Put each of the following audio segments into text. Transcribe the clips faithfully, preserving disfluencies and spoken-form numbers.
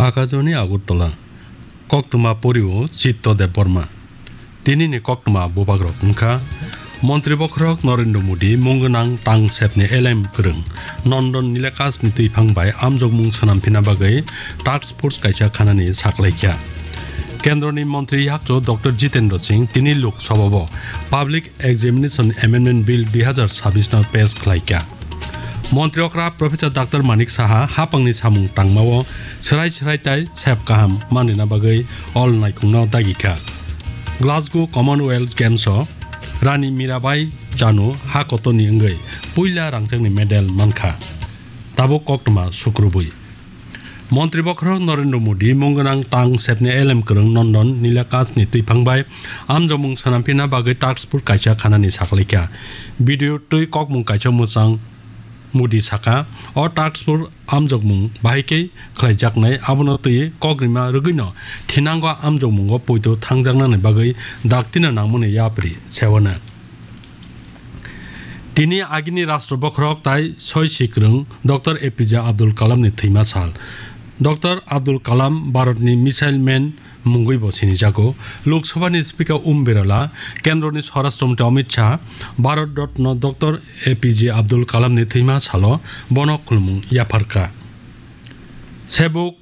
Akajoni Agartala. Koktwma porio Chitto Debbarma. Tinini koktwma bubagrok wngkha: Montri bokhorok Narendra Modi mung gwnang tang sepni elem kwrwng Nandan Nilakashni twiphang bai amjokmung swnamphina bagwi task force kaisa khanani saklaikha. Kendroni montri yakchu Doctor Jitendra Singh tini Lok Sabhao Public Examination Amendment Bill dui hazar sabis no pass khlaikha. Montri okra Professor Doctor Manik Saha hapangni samung tangmao swrai swrai tai sep kaham manina bagwi all naikhungno dagikha. Glasgow Commonwealth Games o Rani Mirabai Chanu ha kotorni wngwi puila rangchakni medal mankha. Tabuk koktwma sukrubwi. Montri bokhorok Narendra Modi mung gwnang tang sepni elem kwrwng Nandan Nilakashni twiphang bai amjokmung swnamphina bagwi task force kaisa khanani saklaikha. Video twi kokmung kaisa mwchang Modi saka, o task force amjokmung bahai khe khlaijaknai, abono twi kokrima rwgwino thinango amjokmungo poito thangjaknani bagwi daktino nangmani yapri sewano. Tini agini Rashtra bokhorok tai soi sikrwng Doctor A P J Abdul Kalamni thwima sal. Doctor Abdul Kalam Bharatni Missile Man mungwi bo sinijago. Lok Sabhani Speaker Om Birla, Kendroni Swarashtra Mantri Amit Shah, Bharat Ratna Doctor A P J Abdul Kalamni thwima salo bono khulumung yapharkha. Sebuk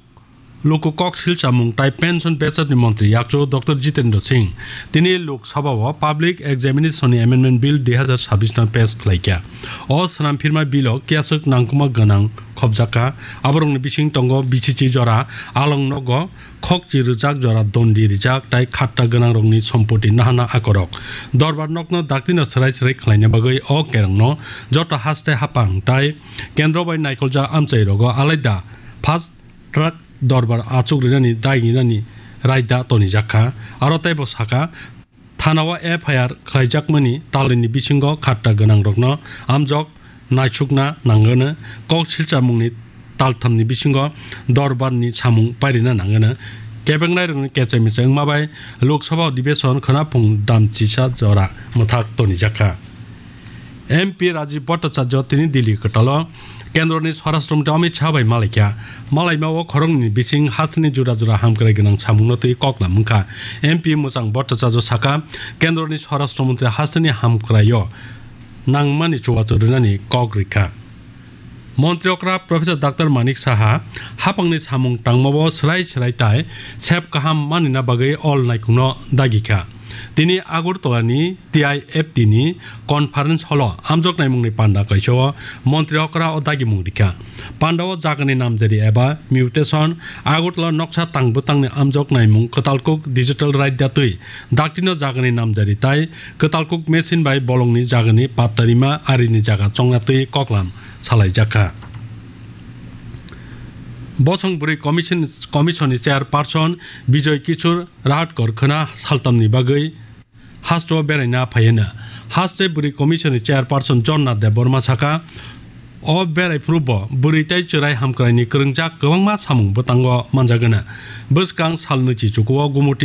Luku kok silchamung tai pension bechapni montri yakchu Doctor Jitendra Singh tini Lok Sabhao Public Examination Amendment Bill dui hazar sabis no pass khlaikha. O swnamphirma bill o kiyaswk nangkukma gwnang khopjakha. Aborokni bising tongo B C C jora, along nogo khokchi rijak jora dondi rijak tai khatta gwnangrokni sompoti nahana akorok. Dorbar nokno daktino swrai swrai khlaina bagwi o kerongno joto haste hapang tai kendro bai naikoljak amchairogo alaida first track dorbar achuk rinani dai rinani raida tonijakha. Aro teibo saka, thanao F I R khlaijakmani talini bisingo khatta gwnangrokno amjok naisukna nangwno, kok silchamungni talthamni bisingo dorbarni samung pairina nangwno. Kebengnairokni kechai mechai wngma bai Lok Sabha Adhibeshon khwna phung dam chisa jora mwthak tonijakha. M P Rajiv Bhattacharya tini Delhi kwtalo Kendroni Swarashtra Mantri Amit Shah bai malaikha. Malaimao khoroknwini bising hasteni jura jura hamkrai gwnang samungno twi koklam wngkha. M P mwchang Bhattacharya saka, Kendroni Swarashtra Mantri hasteni hamkraio nangmani chubachu rwnani kok rikha. Montri okra Professor Doctor Manik Saha hapangni samung tangmao swrai swrai tai sep kaham manina bagwi all naikungno dagikha. Tini Agartala ni T I F T ni conference hall o amjok naimungni panda kaisa o montri okra o dagimung rikha. Panda o jagani namjari eba mutation, Agartala noksa tang bwtangni amjok naimung, kwtalkuk digital raida twi daktino jagani namjari tai kwtalkuk machine bai bolongni jagani pattarima arini jaga chongna twi koklam salaijakha. Bosong bwrwi commission, commission ni chairperson Bijoy Kishore Rahatkar khwna saltamni bagwi haste o beraina phaiyano. Haste bwrwi commission ni chairperson Jonna Debbarma saka, o berai phuru bo bwrwi tei chwrai hamkraini kwrwngjak kwbangma samung bwtango manjagano. Bwskang sal nwichi chukuo Gumoti